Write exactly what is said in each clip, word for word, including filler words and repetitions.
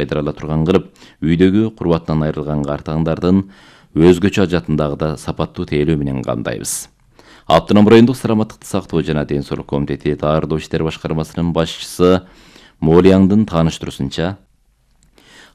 кайтара турган кылып, үйдөгү курбатынан айрылган картаңдардын өзгөчө ажатындагы сапаттуу тейлөө менен камдайбыз. Автоном райондук саламаттыкты сактоо жана ден соолук комитети Таардоо иштер башкармасынын башчысы Молияңдын тааныштыруусунча,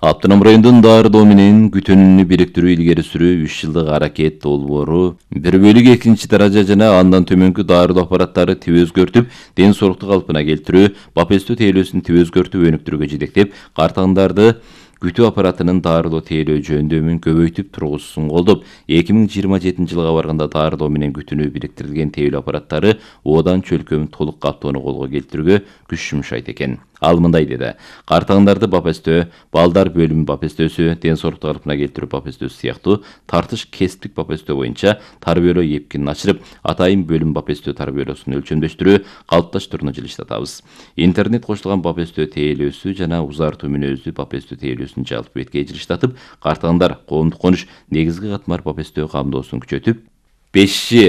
Автоном райондун Таардоо менен Күтөнүнү бириктирүү илгери сүрүү үч жылдык аракет долбоору бир бөлүк экинчи даража жана андан төмөнкү Таардоо аппараттары тип өзгөртүп, ден соолукту калпына келтирүү, бапестөө тейлөөсүн тип өзгөртүп өнүктүрүүгө жетектеп, картаңдарды күтүү аппаратынын Таардоо тейлөө жөндөмүн көбөйтүп тургузуусун колдоп, эки миң жыйырма жетинчи жылга барганда Таардоо менен Күтөнү бириктирилген тейлөө аппараттары Одан чөлкөмүн толук каптоону колго келтирүүгө күч жумшайт экен. Ал мындай деди: картаңдарды бапестөө, балдар бөлүмү бапестөөсү, ден соолукту калпына келтирүү бапестөөсү сыяктуу тартыш кесиптик бапестөө боюнча тарбиялоо эпкинин ачырып, атайын бөлүм бапестөө тарбиялоосун өлчөмдөштүрүү, калыпташтырууну жылыштатабыз. Интернет кошулган бапестөө тейлөөсү жана узартуу мүнөздүү бапестөө тейлөөсүн жалпы бетке жылыштатып, картаңдар коомдук конуш негизги катмар бапестөө камдоосун күчөтүп, беш джи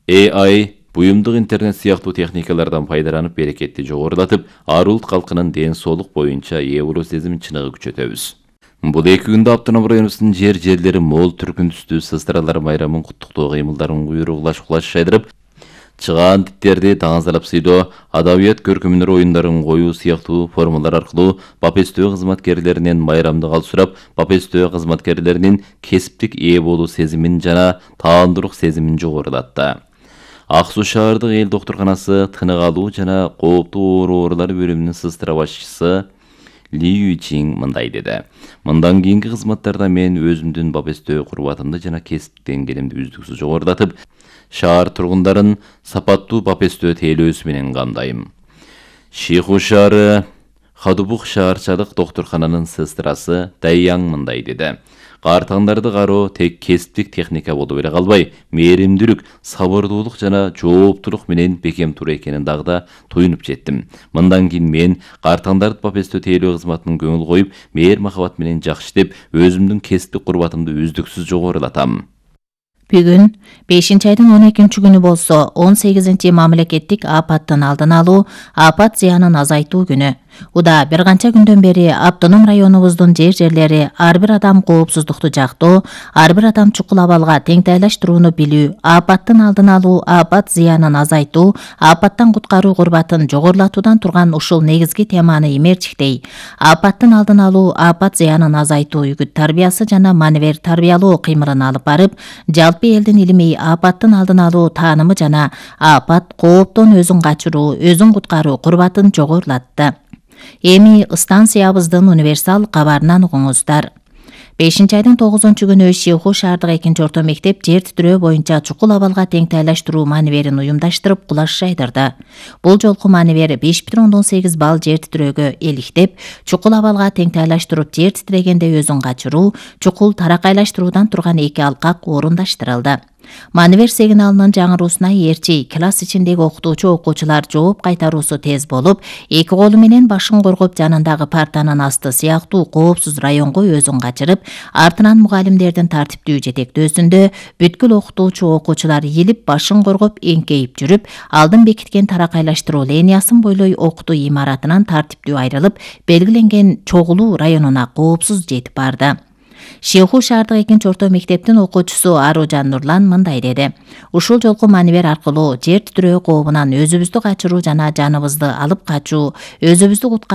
A I буюмдук интернет сыяктуу техникалардан пайдаланып берекетти жогорулатып, ар улут калкынын ден соолук боюнча ээ болуу сезимин чыныгы күчөтөбүз. Бул эки күндө Автоном районубуздун жер жерлери мол түркүндүстүү сыздаралар майрамын куттуктоо кыймылдарын куйругулаш кулаш шайдырып, чыгаан типтерди таңазалап сыйдоо, адабият көркөмдөр оюндарын коюу сыяктуу формалар аркылуу бапестөө кызматкерлеринен майрамдык ал сурап, бапестөө кызматкерлеринин кесиптик ээ болуу сезимин жана таандуулук сезимин жогорулатты. Ак Суу шаардык эл доктурканасы тынык алуу жана кооптуу оорулар бөлүмүнүн сыстыра башчысы Ли Юйчин мындай деди: мындан кийинки кызматтарда мен өзүмдүн бапестөө курбатымды жана кесиптик деңгээлимди үздүксүз жогорулатып, шаар тургундарын сапаттуу бапестөө тейлөөсү менен камдайм. Шиху шаары Хадубук шаарчалык доктуркананын сестирасы Дайяң мындай деди: картаңдарды кароо тек кесиптик техника болуп эле калбай, мээримдүүлүк, сабырдуулук жана жооптулук менен бекем туура экенин дагы да туюнуп жеттим. Мындан кийин мен картаңдарды бапестөө тейлөө кызматынын көңүл коюп, мээр махабат менен жакшы иштеп, өзүмдүн кесиптик курбатымды үздүксүз жогорулатам. Бүгүн бешинчи айдын он экинчи күнү болсо, он сегизинчи мамлекеттик апаттын алдын алуу, апат зыянын азайтуу күнү. Уда бир канча күндөн бери Автоном районубуздун жер жерлери ар бир адам коопсуздукту жактоо, ар бир адам чукул абалга теңтайлаштырууну билүү, апаттын алдын алуу, апат зыянын азайтуу, апаттан куткаруу курбатын жогорулатуудан турган ушул негизги теманы имерчиктей. Апаттын алдын алуу, апат зыянын азайтуу үгүт тарбиясы жана маневер тарбиялоо кыймылын алып барып, жалпы элдин илимий апаттын алдын алуу таанымы жана апат кооптон өзүн качыруу, өзүн куткаруу курбатын жогорулатты. Эми станциябыздын универсал кабарынан угуңуздар. бешинчи айдын тогузунчу күнү Шиху шаардык экинчи орто мектеп жер титирөө боюнча чукул абалга теңтайлаштыруу маневерин уюмдаштырып кулаш жайдырды. Бул жолку маневер беш бүтүн ондон сегиз балл жер титирөөгө эликтеп, чукул абалга теңтайлаштырып жер титирегенде өзүн качыруу, чукул таракайлаштыруудан турган эки алкак орундаштырылды. Маневер сигналынын жаңыруусуна ээрчи класс ичиндеги окутуучу окуучулар жооп кайтаруусу тез болуп, эки колу менен башын коргоп жанындагы партанын асты сыяктуу коопсуз районго өзүн качырып, артынан мугалимдердин тартиптүү жетектөөсүндө бүткүл окутуучу окуучулар ийилип башын коргоп эңкейип жүрүп, алдын бекиткен таракайлаштыруу линиясын бойлой окутуу имаратынан тартиптүү айрылып, белгиленген чогулуу районуна коопсуз жетип барды. Шиху шаардык экинчи орто мектептин окуучусу Аружан Нурлан мындай деди: ушул жолку маневер аркылуу жер титирөө кообунан өзүбүздү качыруу жана жаныбызды алып качуу, өзүбүздү